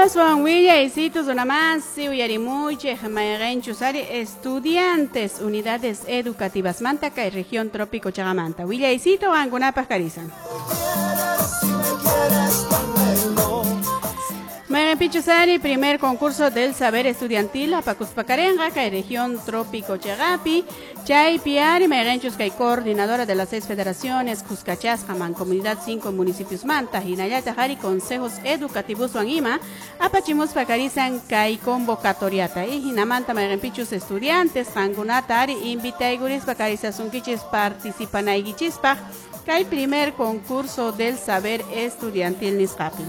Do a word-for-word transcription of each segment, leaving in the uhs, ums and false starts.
Aswan willaysitus runamasi uyarimuchej mayqenchus ari estudiantes unidades educativas manta kay región trópico chaqamanta willaysito qankunapaq karisan. Mayqenpichus ari primer concurso del saber estudiantil apakuspa karenqa kay región trópico chaqapi chaypi ari mayqenchus kay coordinadora de las seis federaciones kuskachasqa mancomunidad cinco municipios manta hinallataq ari consejos educativoswan ima apachimuspa karisan kay convocatoriata y hinamanta mayqenpichus estudiantes qankunata ari invitaykurispa karisasunkichis participanaykichispaq kay primer concurso del saber estudiantil nisqapi.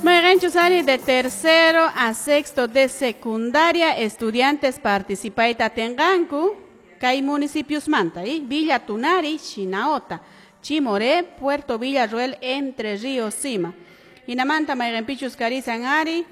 Mayqenchus ari de tercero a sexto de secundaria estudiantes participayta atinqanku kay municipios manta y Villa Tunari, Shinaota, Chimoré, Puerto Villarroel, Entre Ríos, Sima. Hinamanta mayqenpichus karisan ari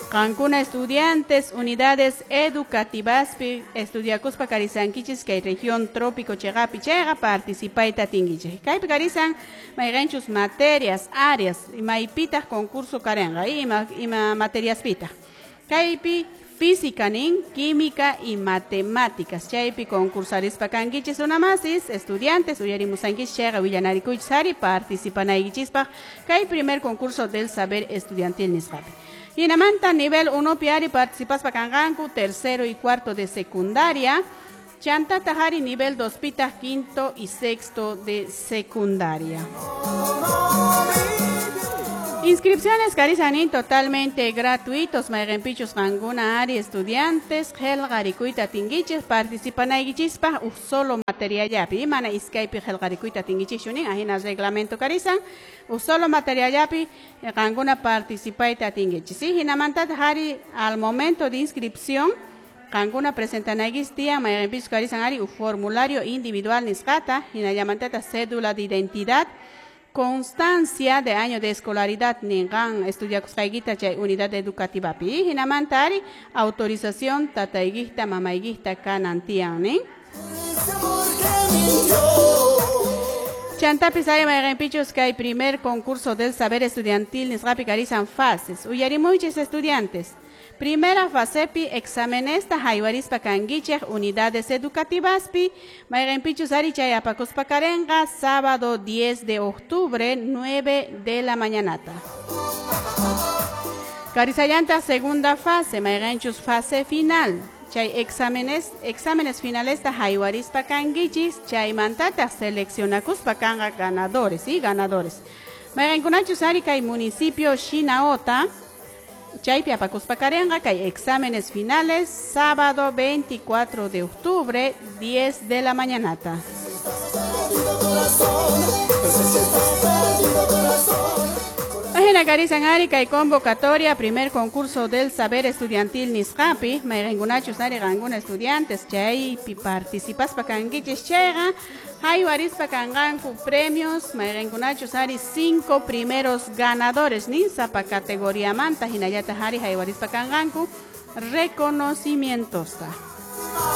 qankuna estudiantes unidades educativaspi estudiakuspa karisankichis kay región trópico chaqapi chayqa participayta atinkichik. Kaypi karisan mayqenchus materias, áreas maypitaq concurso karenqa ima ima materiaspitaq. Kaypi física nin, química y matemáticas. Chaypi concursarispa kankichis runamasis estudiantes uyarimusankichis chayqa willanarikuychis ari participanaykichispaq kay primer concurso del saber estudiantil nisqapi. Hinamanta nivel uno ari participaspa kanqanku tercero y cuarto de secundaria. Chantata ari nivel dos pitaq quinto y sexto de secundaria. Inscripciones karisanin totalmente gratuitos. Mayqenpichus qankuna ari estudiantes qillqarikuyta atinkichis participanaykichispaq uj solo materiallapi mana iskaypi qillqarikuyta atinkichikchu nin ajina reglamento karisan uj solo materiallapi qankuna participayta atinkichis. Hinamantataq ari al momento de inscripción qankuna presentanaykichis tiyan mayqenpichus karisan ari uj formulario individual nisqata hinallamantata cédula de identidad, constancia de año de escolaridad ninqan estudiakusqaykita chay unidad educativapi hinamanta ari autorización tataykita mamaykita kanan tiyan nin. Chantapis ari mayqenpichus kay primer concurso del saber estudiantil nisqapi karisan fases. Uyarimuychis estudiantes. Primera fasepi exámenesta haywarispa kankichej unidades educativaspi mayqenpichus ari chay apakuspa karenqa sábado diez de octubre nueve de la mañanata. Karisallanta segunda fase mayqenchus fase final. Chay exámenes exámenes finalesta haywarispa kankichis chaymantata seleccionakuspa kanqa ganadores y ganadores. Mayqenkunachus ari kay municipio Shinaota chaypi apakuspa karenqa kay exámenes finales sábado veinticuatro de octubre diez de la mañanata. Ajina karisan ari kay convocatoria primer concurso del saber estudiantil nisqapi mayqenkunachus ari qankuna estudiantes chaypi participaspa kankichis chayqa haywarispa kanqanku premios mayqenkunachus ari cinco primeros ganadores nin sapa categoriamanta hinallataq ari haywarispa kanqanku reconocimientosta.